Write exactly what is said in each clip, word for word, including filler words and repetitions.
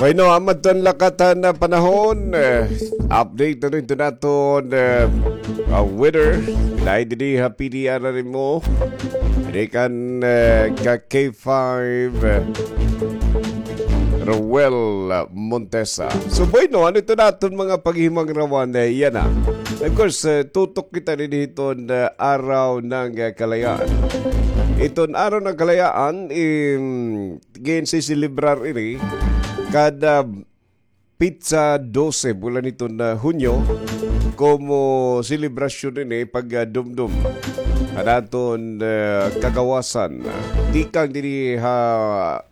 Pino, amat ton lakatan na panahon. Eh, update na rin ito naton, eh, ah, weather. Dahil didi ha P D R na rin mo. Didi kan, eh, ka K five, eh, Roel Montesa. So, bueno, ano ito naton mga paghihimangrawan, eh, yana. Of course, eh, tutok kita didi hiton, eh, araw ng, eh, kalayaan. Iton araw ng kalayaan, im, ginsiselebrar ini kada petsa dose bulan hiton, ah, Hunyo, komo selebrasyon ini pag, ah, dumdum han aton, ah, kagawasan, ah, tikang diri ha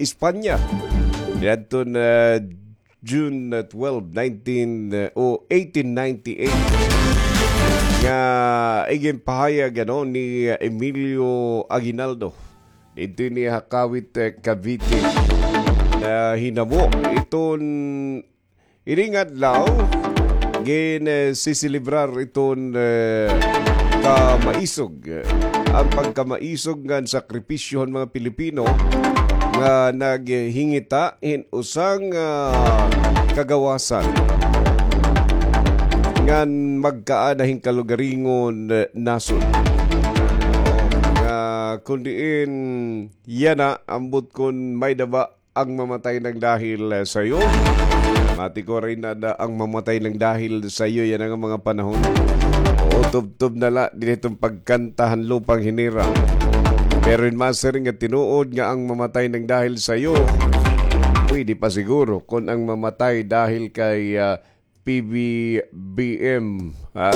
Espanya. Niadton, ah, June, ah, twelve, nineteen, ah, o eighteen ninety-eight, nga iginpahayag, ano, ni, ah, Emilio Aguinaldo. Didto ini ha Kawit, eh, Cavite. Nahinabo iton ini nga adlaw, gin, eh, siselebrar iton, eh, kamaisog, eh, an pagkamaisog ngan sakripisyo han mga Pilipino nga naghingita hin usa nga, ah, kagawasan ngan magkaada hin kalugaringon, eh, nasod. Nga kon diin yana, ambot kon may-ada ba ang mamatay nang dahil, eh, sa iyo? Mati ko rin na, na ang mamatay nang dahil sa iyo, yana nga mga panahon. Oo, tubtob na la, diri iton pagkanta han lupang hinirang. Pero in masiring nga tinuod nga ang mamatay nang dahil sa iyo, pwede pa siguro kon ang mamatay dahil kay, ah, P B B M, ha?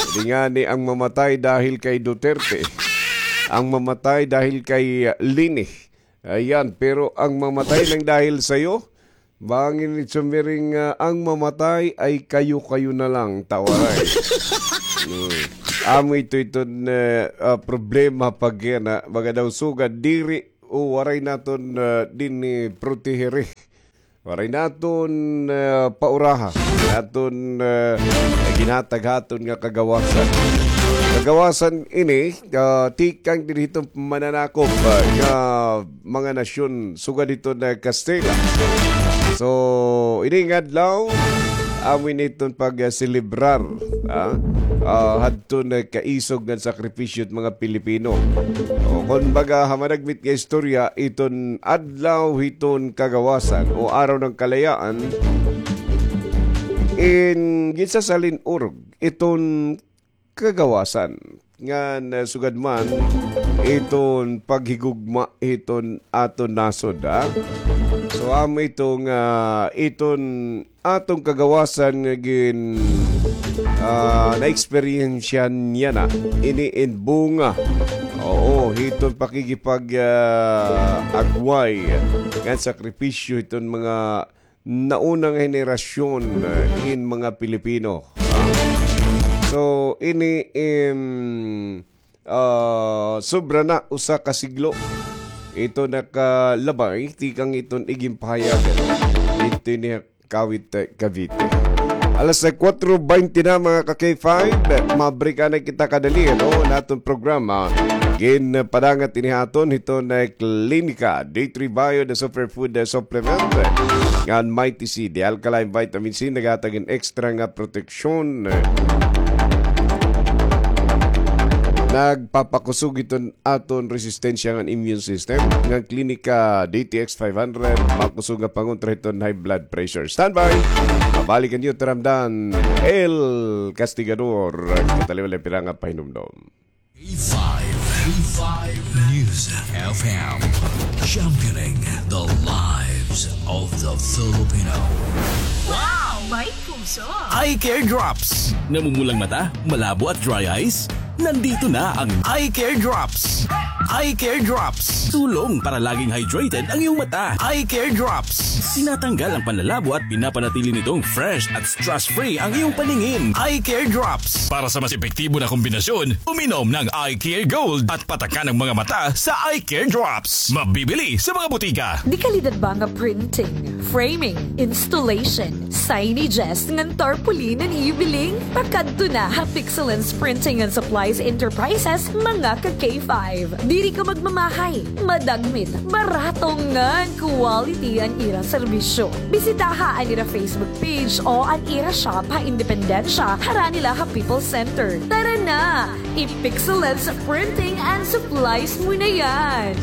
Di ngani ang mamatay dahil kay Duterte. Ang mamatay dahil kay, ah, Leni. Ayan, pero ang mamatay nang dahil sa'yo, bangin ni Chumiring, ah, ang mamatay ay kayo-kayo na lang, tawaray. Hmm. Amo ito, ito na, ah, problema pag yan, ha? Mga daw sugad, diri, o waray naton, ah, din ni proteheri. Waray naton, ah, pauraha. Naton, ah, ginhatag haton nga kagawasan. Kagawasan ini, ah, tikang diri hiton mananakop, ah, nga mga nasyon, sugad hiton Kastila. So, ini nga adlaw, amo ini iton pag, ah, selebrar, ah, ah, hadton kaisog ngan sakripisyo hit mga Pilipino. O, kon baga, ha managmit nga istorya, iton adlaw hiton kagawasan o araw ng kalayaan, in ginsasalin-urog iton kagawasan. Ngan, ah, sugad man iton paghigugma hiton aton nasod, ha? So, amo ito nga iton aton kagawasan nga gin, ah, naeksperyensya niya na ini in bunga. Oo, hiton pakigipag, ah, agway ngan sakripisyo hiton mga naunang henerasyon, ah, hin mga Pilipino. So, ini, em, ah, sobra na usa ka siglo ito nakalabay tikang iton iginpahayag didto ini Kawit, eh, Cavite. Alas kuwatro baynte na, mga ka K five. Mabreak na kita kadali, no? Naton programa. Ginpadangat ini ha aton hiton Klinika D three Bio, the superfood, the supplement. Ngan Mighty C, the alkaline vitamin C, naghatag hin extra nga proteksyon. Nagpapakusog hiton aton resistensya ngan immune system. Ngan Klinika D T X five hundred, pakusog nga pangontra hiton high blood pressure. Standby! Mabalik an iyo taramdan, El Castigador. Kataliwan la pira nga pahinumdom. A five, A five News F M, championing the lives of the Filipino. Wow! May puso! Eye Care Drops. Namumulang mata, malabo at dry eyes? Nandito na ang Eye Care Drops. Eye Care Drops. Tulong para laging hydrated ang iyong mata. Eye Care Drops. Tinatanggal ang panlalabo at pinapanatili nitong fresh at stress-free ang iyong paningin. Eye Care Drops. Para sa mas epektibo na kombinasyon, uminom ng Eye Care Gold at patakan ang mga mata sa Eye Care Drops. Mabibili sa mga butika. Dekalidad ba nga printing, framing, installation, signages ngan tarpaulin an iyo biling? Pakadto na ha Pixelance Printing and Supply Enterprises, mga ka K five. Diri ka magmamahay, madagmit, barato ngan quality an ira serbisyo. Bisitaha an ira Facebook page o an ira shop ha Independencia, harani la ha People's Center. Tara na! I-Pixelens Printing and Supplies mo na yan!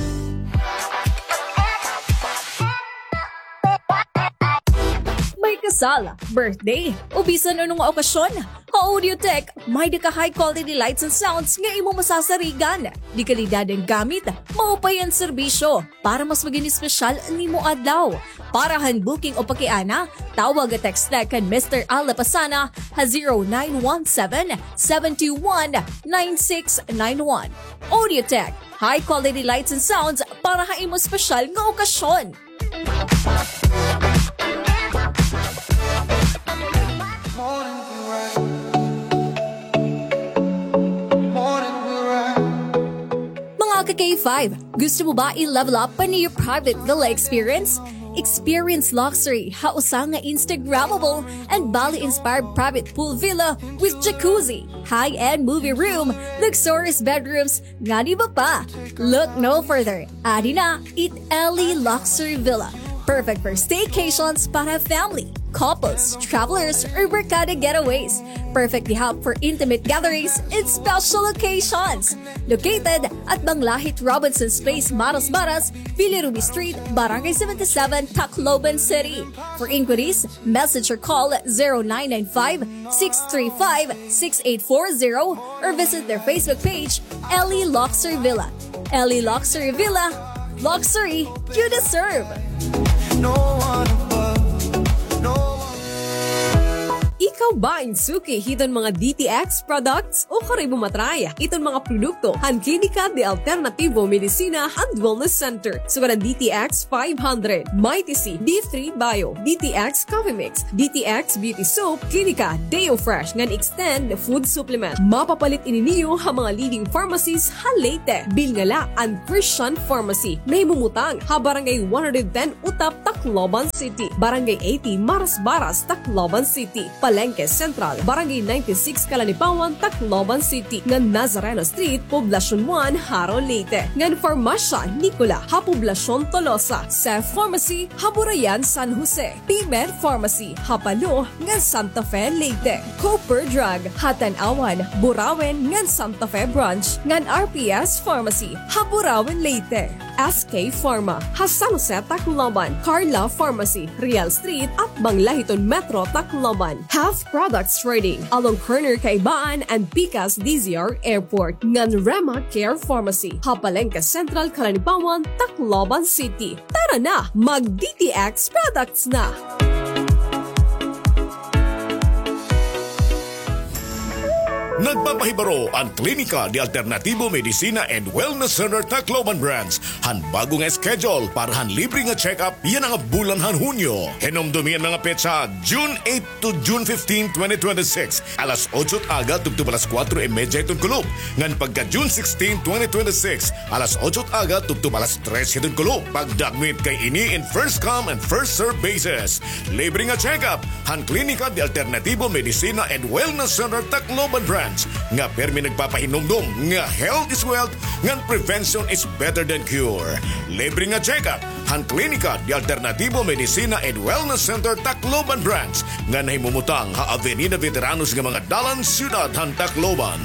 May kasal, birthday, o bisan ano nga okasyon, ha Audiotech, may-ada ka high quality lights and sounds nga imo masasarigan. De kalidad an gamit, maupay an serbisyo, para mas magin espesyal an imo adlaw. Para han booking o pakiana, tawag o text kan Mister Al Lapasana ha zero nine one seven, seven two one, nine six nine one. Audiotech, high quality lights and sounds para ha imo espesyal nga okasyon. Mga ka K five, gusto mo ba i-level up pa an iyo private villa experience? Experience luxury ha usa nga Instagrammable and Bali-inspired private pool villa with jacuzzi, high-end movie room, luxurious bedrooms, ngan iba pa. Look no further. Adi na, it Ellie Luxury Villa. Perfect for staycations para family, couples, travelers, or barkada getaways. Perfect di hap for intimate gatherings and special occasions. Located at Banglahit Robinson's Place, Marasbaras, Villa Ruby Street, Barangay seventy-seven, Tacloban City. For inquiries, message or call zero nine nine five, six three five, six eight four zero or visit their Facebook page, Ellie Luxury Villa. Ellie Luxury Villa, luxury you deserve. Ikaw ba in suki hiton mga D T X products? Ukari mo matry iton mga produkto han Klinika de Alternativo Medicina and Wellness Center. Sugad an D T X five hundred, Mighty C, D three Bio, D T X Coffee Mix, D T X Beauty Soap, Klinika Deo Fresh ngan Extend Food Supplement. Mapapalit ini niyo ha mga leading pharmacies ha Leyte. Bilngala an Christian Pharmacy, nahimumutang ha Barangay one hundred ten Utap, Tacloban City, Barangay eighty Marasbaras, Tacloban City, Palengke Central, Barangay ninety-six Calanipawan, Tacloban City, ngan Nazareno Street, Poblacion one, Jaro, Leyte, ngan Farmasya Nicola ha Poblacion Tolosa, Seth Pharmacy ha Burayan, San Jose, P-Med Pharmacy ha Palo ngan Santa Fe, Leyte, Cooper Drug ha Tanauan, Burauen ngan Santa Fe Branch, ngan R P S Pharmacy ha Burauen, Leyte, S K Pharma ha San Jose, Tacloban, Carla Pharmacy, Real Street, atbang la hiton Metro Tacloban, Health Products Trading along corner Kaibaan and Pikas D Z R Airport, ngan Rema Care Pharmacy ha Palengke Central, Calanipawan, Tacloban City. Tara na, mag D T X products na! Nagpapahibaro an Klinika de Alternativo Medicina and Wellness Center Tacloban Branch han bag-o nga schedule para han libre nga check-up yana nga bulan han Hunyo. Hinumdomi an mga petsa, June eight to June fifteen, twenty twenty-six, alas otso it aga tubtob alas kuwatro y medya hiton kulop, ngan pagka June sixteen, twenty twenty-six, alas otso it aga tubtob alas tres hiton kulop. Pagdagmit kay ini in first come and first serve basis. Libre nga check-up han Klinika de Alternativo Medicina and Wellness Center Tacloban Branch, nga pirmi nagpapahinumdom nga health is wealth ngan prevention is better than cure. Libre nga check-up han Klinika de Alternativo Medicina and Wellness Center Tacloban Branch, nga nahimumutang ha Avenida Veteranos nga mga dalan, siyudad han Tacloban.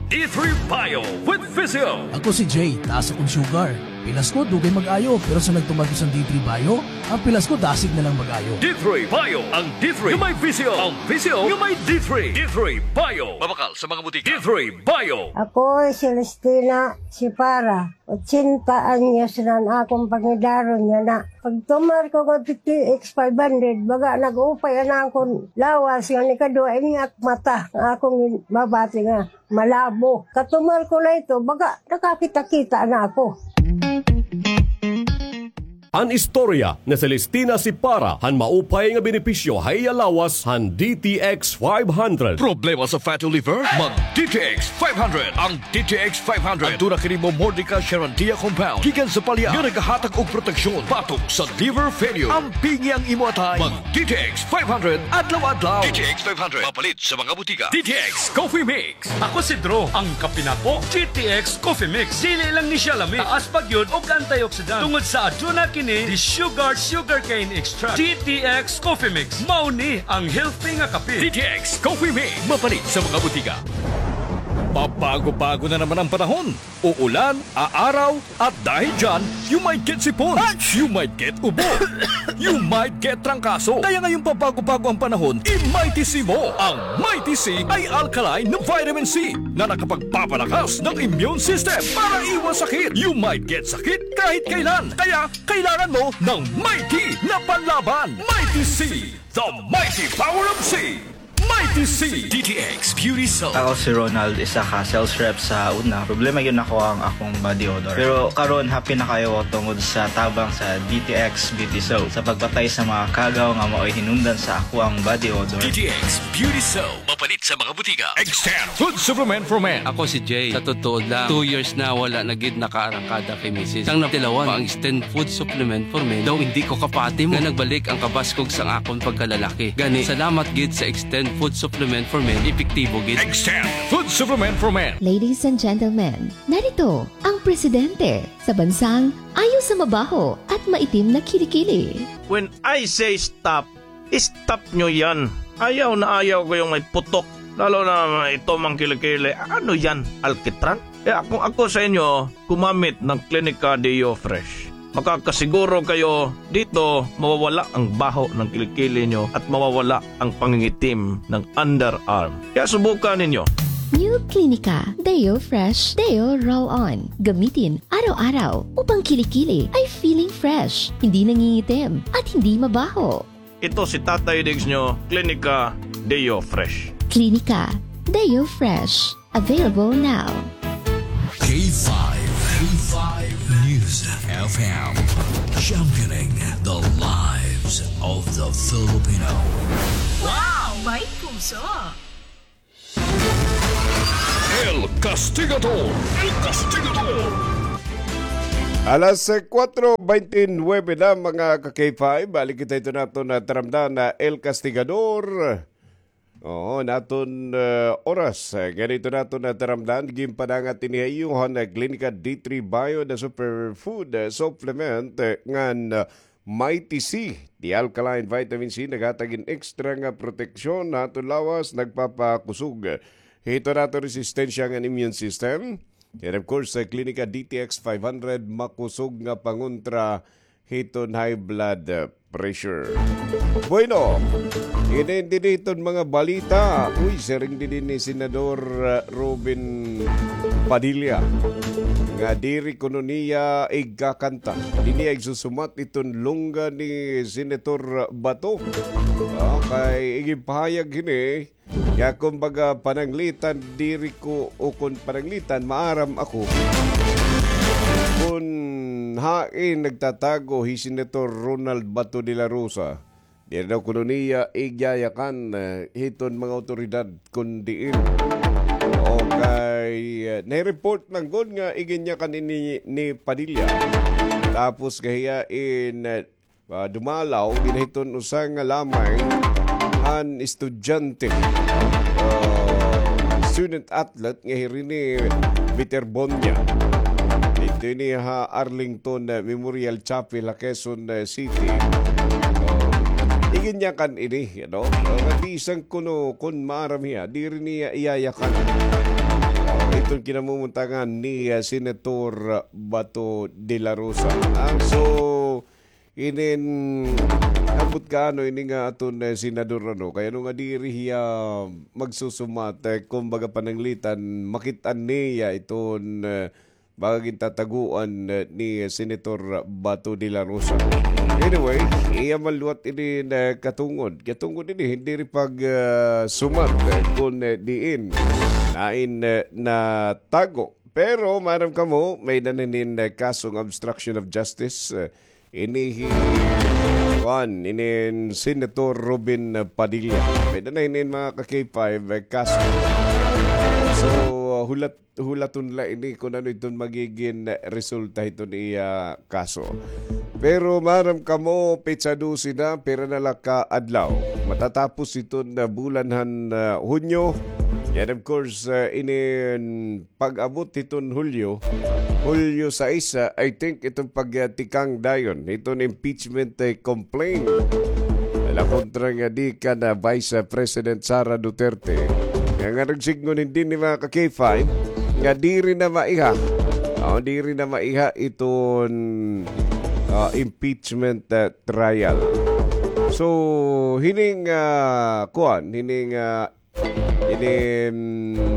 D three Bio with Physio. Ako si Jay, taas akon sugar. Pilas ko, dugay mag-ayo, pero sa nagtuman ko sa D three Bio, ang pilas ko dasig na lang mag-ayo. D three Bio, ang D three nga may Physio, ang Physio nga may D three. D three Bio. Mabakal sa mga butika. D three Bio. Ako si Celestina Sipara, ochenta anyos na an akon pangidaron yana. Pagtumar ko ngadto D T X five hundred, baga nag-upay an akon lawas, ngan ikaduha ini ak mata nga akon mabati nga malabo. Katumar ko la ito, baga nakakita-kita na ako. An istorya ni Celestina Sipara han maupay nga benepisyo ha iya lawas han D T X five hundred. Problema sa fatty liver? Mag D T X five hundred. Ang D T X five hundred, aduna kini Momordica charantia compound gikan sa palya nga nagahatag og proteksyon batok sa liver failure. Ampingi ang imo atay. Mag D T X five hundred adlaw-adlaw. D T X five hundred, mapalit sa mga butika. D T X Coffee Mix. Ako si Drew, ang kape nako, D T X Coffee Mix. Dili lang ni siya lami, taas pa gyud og antioxidant tungod sa aduna kini di sugar, sugarcane extract. D T X Coffee Mix, mao ni ang healthy nga kape. D T X Coffee Mix, mapalit sa mga butika. Pabago-bago na naman ang panahon. Uulan, aaraw, at dahil dyan, you might get sipon, you might get ubo, you might get trangkaso. Kaya ngayong pabago-bago ang panahon, i-Mighty C mo. Ang Mighty C ay alkaline na vitamin C na nakapagpapalakas ng immune system para iwas sakit. You might get sakit kahit kailan. Kaya kailangan mo ng Mighty na panlaban. Mighty C, the mighty power of C. Mighty C. D T X Beauty Soap. Ako si Ronald, isa ka sales rep sa una. Problema gyud nako ang akong body odor. Pero karon, happy na kaayo ako tungod sa tabang sa D T X Beauty Soap sa pagpatay sa mga kagaw nga maoy hinungdan sa ako ang body odor. D T X Beauty Soap. Mapalit sa mga butika. Extend Food Supplement for Men. Ako si Jay. Sa totoo lang, two years na wala na gid nakaarangkada kay misis. Sang natilawan pa ang Extend Food Supplement for Men, daw hindi ko kapati mo nga nagbalik ang kabaskog sang akon pagkalalaki. Gani, salamat gid sa Extend Food Supplement for Men, epektibo gid. Extend Food Supplement for Men. Ladies and gentlemen, narito ang presidente sa bansang ayaw sa mabaho at maitim na kilikili. When I say stop, stop nyo yan. Ayaw na ayaw ko yung may putok. Lalo na ito mang kilikili. Ano yan? Alkitran? Kaya kung ako sa inyo, gumamit ng Clinica Deo Fresh. Makakasiguro kayo dito mawawala ang baho ng kilikili nyo at mawawala ang pangingitim ng underarm. Kaya subukan ninyo. New Clinica Deo Fresh Deo Roll On. Gamitin araw-araw upang kilikili ay feeling fresh, hindi nangingitim, at hindi mabaho. Ito si Tatay Diggs nyo, Clinica Deo Fresh. Clinica Deo Fresh. Available now. K five, K five News F M, championing the lives of the Filipino. Wow! May puso! El Castigador! El Castigador! Alas, eh, kuwatro bente nuwebe na, mga ka-K five. Balik kita ito naton na taramdan na El Castigador. Oo, naton, eh, oras. Eh, ganito naton na taramdan. Ginpadangat ini ha iyo han, eh, Klinika D three Bio na superfood, eh, supplement, eh, ngan, eh, Mighty C, the alkaline vitamin C, naghatag hin extra nga proteksyon ha aton lawas, nagpapakusog hito naton resistensya ngan immune system. And of course, sa Klinika D T X five hundred, makusog nga pangontra hiton high blood, uh, pressure. Bueno, ini didi hiton mga balita. Uy, siring didi ni Senador, uh, Robin Padilla nga diri kuno niya igkakanta. Diri niya igsusumat iton lungga ni Senator Bato. Ah, kay iginpahayag hini nga, kumbaga, pananglitan, diri ko, o kon pananglitan, maaram ako kon hain nagtatago hi Senator Ronald Bato de la Rosa. Diri daw kuno niya igyayakan, eh, hiton mga awtoridad kon diin. Okay, eh, nai-report man gud nga iginyakan ini ni Padilla. Tapos kahiya in, eh, ah, dumalaw, ginahiton usa nga lamay han estudyante, ah, student athlete nga hiri ni Peter Bonia. Didto ini ha Arlington, ah, Memorial Chapel ha Quezon, ah, City. Ah, iginyakan ini, ano? Ah, nga bisan kuno kon maaram hiya, diri niya iyayakan, ah, iton kinamumuntangan ni, ah, Senator Bato de la Rosa. Ah, so, inin, ambot ka, ano, ini nga aton, eh, senador, ano, kay ano nga diri hiya magsusumat, eh, kumbaga pananglitan, makit-an niya iton, eh, mga gintataguan, eh, ni Senator Bato de la Rosa. Anyway, iya man liwat ini na katungod. Katungod ini, diri pag, eh, sumat, eh, kon, eh, diin, nain, eh, natago. Pero, maaram kamo, may-ada na hinin, eh, kasong obstruction of justice, eh, ini hi, kuan, inin Senator Robin Padilla. May-ada na inin, mga ka-K five, eh, kaso. So, hulat, hulaton la ini kon ano iton magigin resulta hiton iya kaso. Pero maaram kamo, petsa dose na, pira na la ka adlaw. Matatapos iton, ah, bulan han, ah, Hunyo. And of course, ah, inin pag-abot hiton Hulyo, Hulyo sais, ah, I think iton pagtikang dayon hiton impeachment, eh, complaint la kontra ngadi kan, ah, Vice, ah, President Sara Duterte. Nga, nga nagsidngon hini, mga ka-K five, nga diri na maiha. O, diri na maiha iton, ah, impeachment, ah, trial. So, hining, ah, kuan, hining, ah, ini, mm,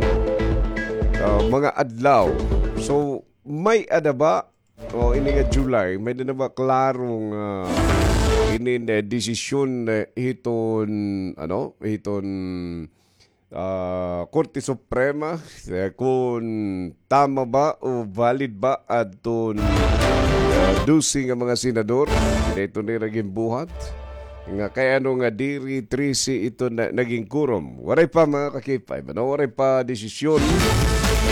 ah, mga adlaw. So, may-ada ba, o, ini nga July, may-ada na ba klarong, ah, ini, eh, desisyon, eh, hiton, ano, hiton, ah, Korte Suprema, eh, kon tama ba o valid ba adton, ah, dose nga mga senador? Dito nira ginbuhat. Nga kay ano nga diri trese ito na, naging quorum. Waray pa, mga ka-K five, ano? Waray pa desisyon,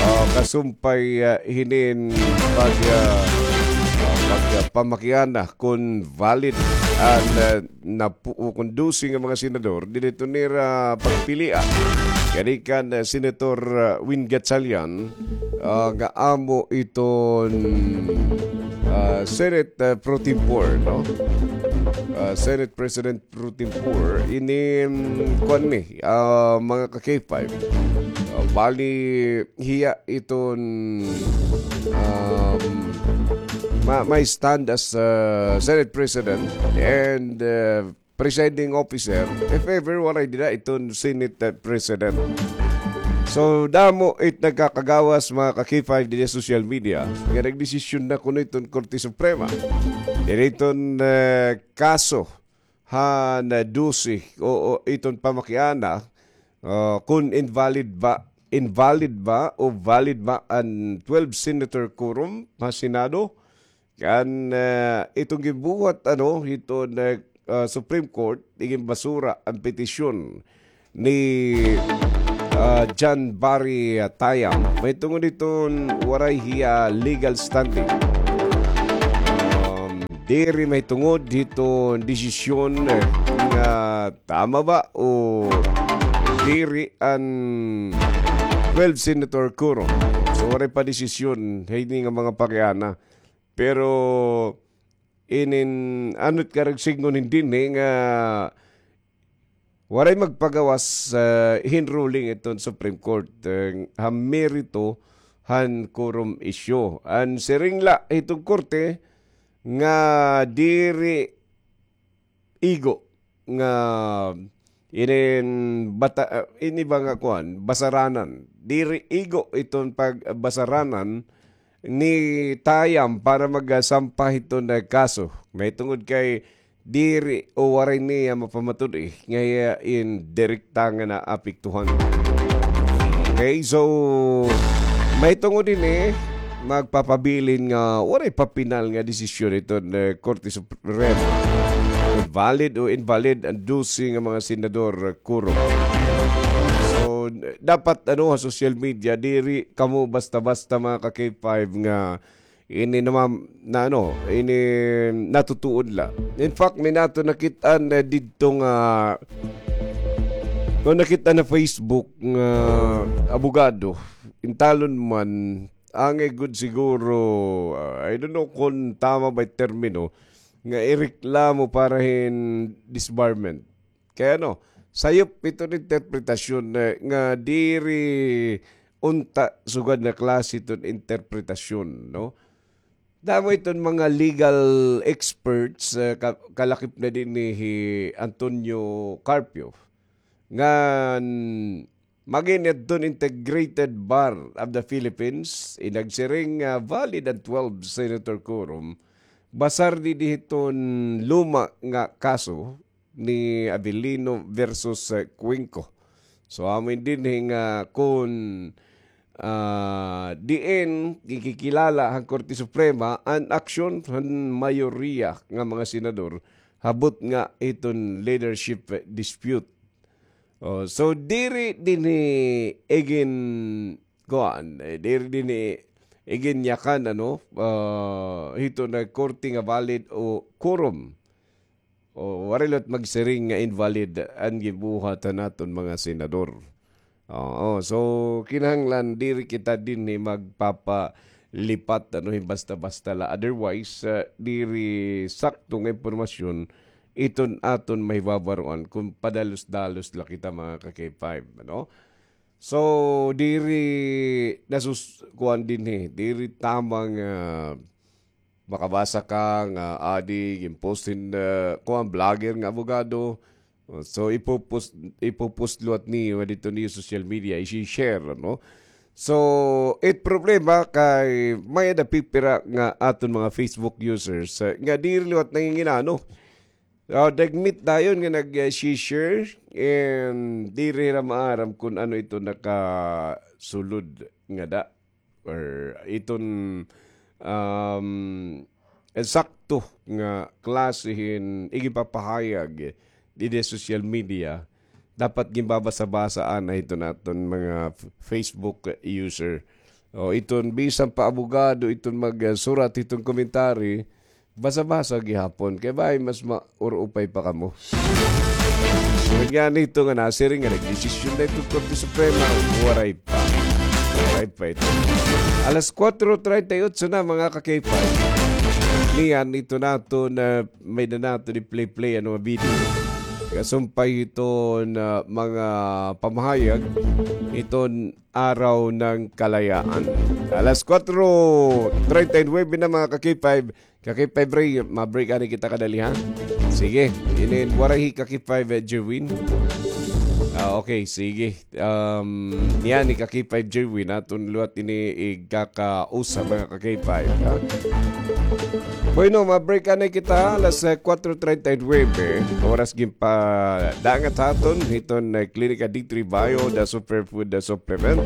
ah, kasumpay, ah, hinin pag, ah, ah, pag, ah, pamakiana kon valid an, ah, napu-, o kon dose nga mga senador, diri ito nira pagpilia. Kani kan, ah, Senator, ah, Win Gatchalian, ah, nga amo iton, ah, Senate, ah, pro tempore, no? Ah, Senate President pro tempore, ini, mm, kuan ni, ah, mga ka-K five. Ah, bali, hiya iton, um, ma-, may stand as, ah, Senate President and, ah, presiding officer, if ever waray dida iton Senate, ah, President. So, damo it nagkakagawas, mga ka-K five, dida social media, nga nagdesisyon na kuno iton Korte Suprema. Dida iton, ah, kaso han, ah, dose o, o iton pamakiana, ah, kon invalid ba, invalid ba o valid ba an twelve senator quorum ha Senado? Kan, ah, iton ginbuhat, ano, hiton, ah, ah, Supreme Court, iginbasura an petisyon ni, ah, John Barry, ah, Tayam. Mahitungod hiton waray hiya legal standing. Um, diri mahitungod hiton desisyon, eh, nga tama ba o diri an twelve senator quorum. So, waray pa desisyon hini nga mga pakiana. Pero inin, ano it karuyag sidngon hini nga waray magpagawas, ah, hin ruling iton Supreme Court, eh, ha merito han quorum issue. An siring la hiton korte nga diri igo nga inin bata-, ah, ini ba nga kuan, basaranan. Diri igo iton pagbasaranan ni Tayam para magsampa hiton, ah, kaso. Mahitungod kay diri o waray niya mapamatud-i nga hiya in direkta nga naapektuhan. Okay, so mahitungod hini, magpapabilin nga waray pa pinal nga desisyon iton, eh, Korte Suprema. Valid o invalid an dose nga mga senador, quorum. So, dapat, ano, ha social media, diri kamo basta-basta, mga ka-K five, nga ini naman na, ano, ini natutuod la. In fact, may nato nakit-an, eh, didto nga, no, nakit-an ha Facebook nga abogado, intalon man, angay gud siguro, ah, I don't know kon tama ba it termino, nga ireklamo para hin disbarment. Kay ano, sayop iton interpretasyon, eh, nga diri unta sugad nga klase iton interpretasyon, no? Damo iton mga legal experts, eh, ka-, kalakip na dinhi hi Antonio Carpio, ngan mag-inadton Integrated Bar of the Philippines, inagsiring nga valid an twelve senator quorum, basar dinhi hiton luma nga kaso ni Avellino versus, eh, Cuenco. So, amo ini dinhi nga kon, ah, diin gikikilala han Korte Suprema an aksyon han mayoriya nga mga senador habot nga iton leadership dispute. Oh, so diri dinhi igin-, kuan, eh, diri dinhi iginyakan, ano, ah, hiton nga korte nga valid o quorum. O, waray liwat magsiring nga invalid an ginbuhat han aton mga senador. Oo, so kinahanglan diri kita dinhi magpapalipat, ano, hin basta-basta la. Otherwise, ah, diri sakto nga impormasyon iton aton mahibabaroan kon padalos-dalos la kita, mga ka-K five, ano? So, diri nasus-, kuan dinhi, diri tama nga makabasa ka nga adi, ginpost hin, ah, kuan, vlogger nga abogado. So, ipo-post, ipo-post liwat niyo didto niyo social media, i-share, ano? So, it problema kay may-ada pipira nga aton mga Facebook users, ah, nga diri liwat nanginginano. Ah, dagmit dayon nga nag-share and diri hira maaram kon ano ito nakasulod ngada or iton, um, eksakto nga klase hin igipapahayag didi social media. Dapat ginbabasa-basa anay iton aton mga f-, Facebook user. O iton bisan pa abogado iton magsurat hiton commentary, basa-basa gihapon kay bangin mas maurupay pa kamo. Ngani ito nga nasiring nga nagdesisyon na iton Korte Suprema, waray pa. Waray pa ito. Alas kuwatro treinta y ocho na, mga ka-K five. Niyan ito naton, ah, may-ada naton i-play-play, ano, nga video. Kasumpay hiton, ah, mga pamahayag hiton Araw ng Kalayaan. Alas kuwatro treinta y nuebe na, mga ka-K five. Ka-K five Ray, ma-break anay kita kadali, ha? Sige, inin waray hi ka-K five, eh, Jerwin. Ah, okay, sige. Um, niyan hi ka-K five Jerwin, aton liwat ini igkakausa, mga ka-K five, ha? Bueno, ma-break anay kita, alas, eh, kuwatro treinta y nuebe. Oras ginpadangat ha aton hiton, eh, Klinika D three Bio, the superfood, the supplement.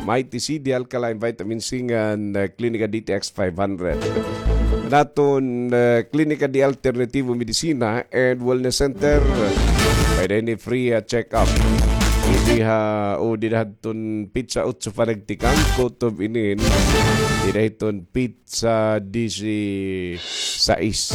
Mighty C, the alkaline vitamin C, ngan, eh, Klinika D T X five hundred. Naton, eh, Klinika de Alternativo Medicina and Wellness Center. Pwede ini free, ah, check-up. Didi ha, o dida hadton petsa otso panagtikang, kutob inin. Dida hiton petsa disi-sais.